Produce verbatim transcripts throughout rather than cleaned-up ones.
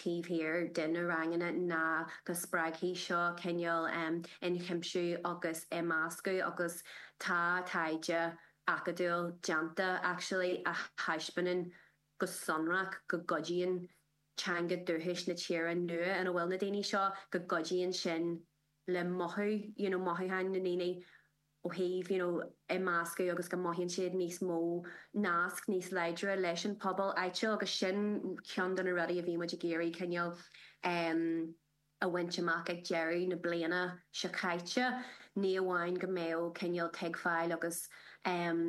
taobh thiar de na ranganna ná go spreagfaidh seo cineál ionchuimsiú agus imeascadh agus tá taighde acadúil déanta actually a thaispeánann go sonrach go gcuidíonn teanga dúchais na tíre nua ina bhfuil na daoine seo go gcuidíonn sin le mothú you know mothúcháin na ndaoine ó thaobh you know imeascadh agus go mothaíonn siad níos mó nasc níos láidre leis an pobal áitiúil agus sin ceann de na rudaí a bhí muid ag iarraidh cineál um a bhaint amach ag deireadh na bliana seo caite ní amháin go mbeadh cineál tuigbheáil agus um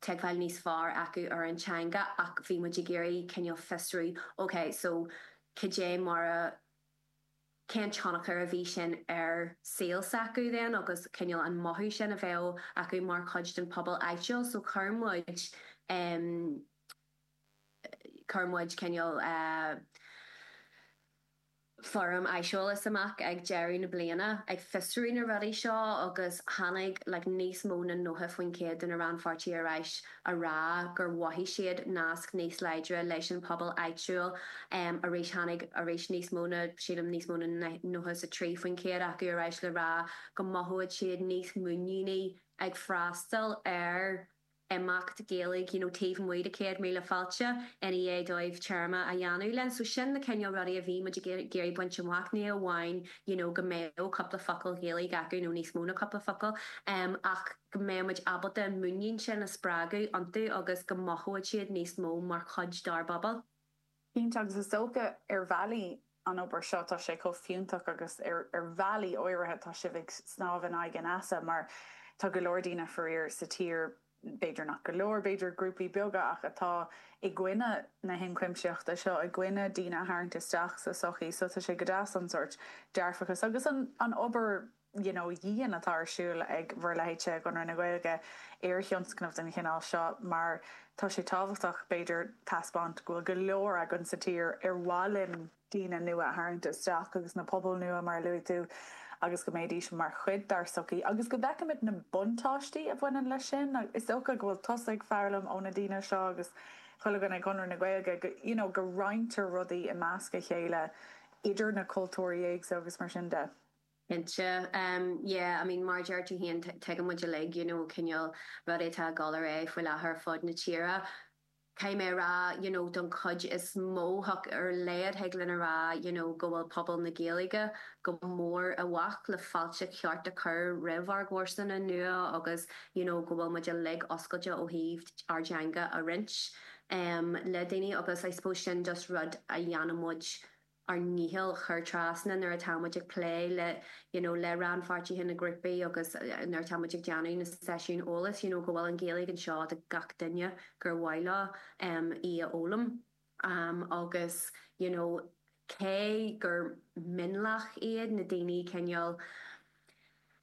tuigbheáil níos fearr acu ar an teanga ach bhí muid ag iarraidh cineál fiosrú ok so cad é mar a cén tionchar a bhí sin ar saol s'acu then agus cineál an mothú sin a bheadh acu mar chuid den pobal áitiúil so chuir muid um chuir muid cineál uh, foirm aiseolais amach ag deireadh na bliana ag fiosrú na rudaí seo agus tháinig like, níos mó na nócha faoin gcéad de na rannpháirtithe ar ais a rá gur mhothaigh siad nasc níos láidre leis an pobal áitiúil um, arís tháinig arís níos mó na sílim níos mó na nócha a trí faoin gcéad acu ar ais le rá go mothaíonn siad níos muiníní ag freastal ar imeacht Gaeilge you know, taobh amuigh de céad míle fáilte ina dhiaidh dóibh téarma a dhéanamh linn, so sin na cineál rudaí a bhí muid ag iarraidh baint amach ní amháin you know, go mbeadh cúpla focal Gaeilge acu nó níos mó na cúpla focal um, ach go mbeadh muid ábalta muinín sin a spreagadh iontu agus go mothódh siad níos mó mar chuid dár bpobal. Cinnte agus is dócha ar bhealaí an obair seo tá sé chomh fiúntach agus ar ar bhealaí áirithe tá sibh ag snámh in aghaidh an easa mar tá go leor daoine faraor sa tír b'fhéidir nach go leor b'fhéidir grúpaí beaga ach atá i gcoinne na hionchuimsitheachta seo i gcoinne daoine a tharraingt isteach sa sochaí, so tá sé go deas an sórt dearfachas agus an an obair you know, dhian atá ar siúl ag bhur leithéidse i gConradh na Gaeilge ar thionscnamh den chineál seo mar tá sé tábhachtach b'fhéidir taispeáint go bhfuil go leor againn sa tír ar mhaith linn daoine nua a tharraingt isteach agus na pobail nua mar luaigh tú agus go mbeidís mar chuid dár sochaí agus go bhfeicimid na buntáistí a bhaineann leis sin is dócha go bhfuil tusa ag foghlaim ó na daoine seo agus chuile dhuine i gConradh na Gaeilge go you know, go roinntear rudaí i measc a chéile idir na cultúirí éagsúla agus mar sin de. Cinnte um, yeah, I mean mar deir tú féin tuigeann muid uilig you know, cineál rud atá ag dul ar aghaidh faoi láthair fud na tíre. Caithfidh mé rá you know, don chuid is mó ar a laghad thig linn a rá you know, go bhfuil pobal na Gaeilge go mór i bhfách le fáilte cheart a chur roimh ár gcomharsana nua agus you know, go bhfuil muid uilig oscailte ó thaobh ár dteanga a roinnt um, le daoine agus I suppose sin just rud a dhéanann muid ár ndícheall chur trasna nuair atá muid ag plé le you know, le rannpháirtithe na grúpaí agus eh, nuair atá muid ag déanamh na seisiún eolais you know, go bhfuil an Ghaeilge anseo do gach duine gur mhaith leo um, í a fhoghlaim. Um, agus you know, cé gur mionlach iad na daoine cineál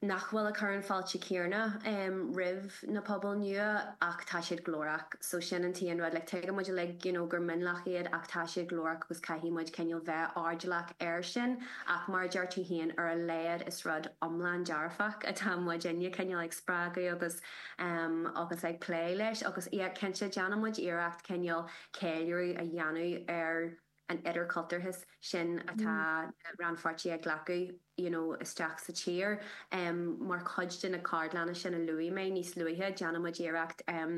nach bhfuil ag cur an fáilte céanna um, roimh na pobail nua ach tá siad glórach, so sin an t-aon rud le tuigeann muid uilig you know, gur mionlach iad ach tá siad glórach agus caithfidh muid cineál bheith airdeallach air sin ach mar deir tú féin ar a laghad is rud iomlán dearfach atá muid inne cineál ag spreagadh agus um, agus ag plé leis agus yeah, cinnte déanann muid iarracht cineál ceiliúradh a dhéanamh ar an idirchultúrthas sin atá rannpháirtithe ag glacadh you know, isteach sa tír um, mar chuid de na ceardlanna sin a luaigh mé níos luaithe déanann muid iarracht um,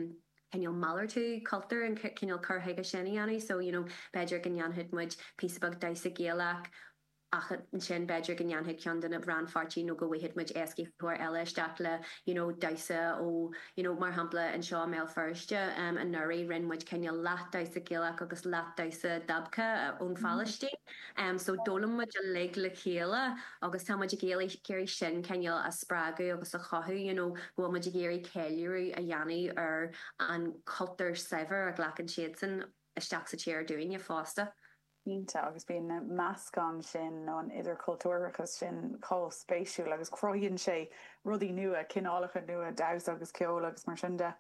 cineál malartú cultúr an cineál cur chuige sin a dhéanamh, so you know, b'fhéidir go ndéanfaidh muid píosa beag damhsa Gaelach ach ansin b'fhéidir go ndéanfaidh ceann de na rannpháirtithe nó go bhfaighidh muid éascaitheoir eile isteach le you know, damhsa ó you know, mar shampla anseo i mBéal Feirste um, anuraidh rinne muid cineál leath damhsa Gaelach agus leath damhsa dabka ón Phalaistín. Um, so d'fhoghlaim muid uilig le chéile agus tá muid ag iarraidh sin cineál a spreagadh agus a chothú you know, go bhfuil muid ag iarraidh ceiliúradh a dhéanamh ar an cultúr saibhir a ghlacann siadsan isteach sa tír dúinne fosta. Cinnte agus bíonn na meascán sin nó an idirchultúrachas sin chomh spéisiúil agus cruthaíonn sé rudaí nua cineálacha nua damhsa agus ceol agus mar sin de.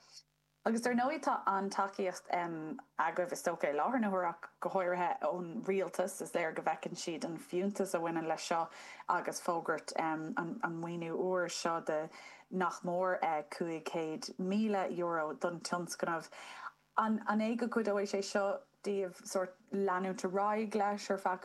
Agus dar ndóigh tá an tacaíocht um, agaibh is dócha i láthair na huaire go háirithe ón rialtas is léir go bhfeiceann siad an fiúntas a bhaineann leis seo agus fógairt um, an, an maoiniú úr seo de nach mór uh, cúig chéad míle euro don tionscnamh. An, an é go gcuideoidh sé seo daoibh sórt leanúint ar aghaidh leis ar feadh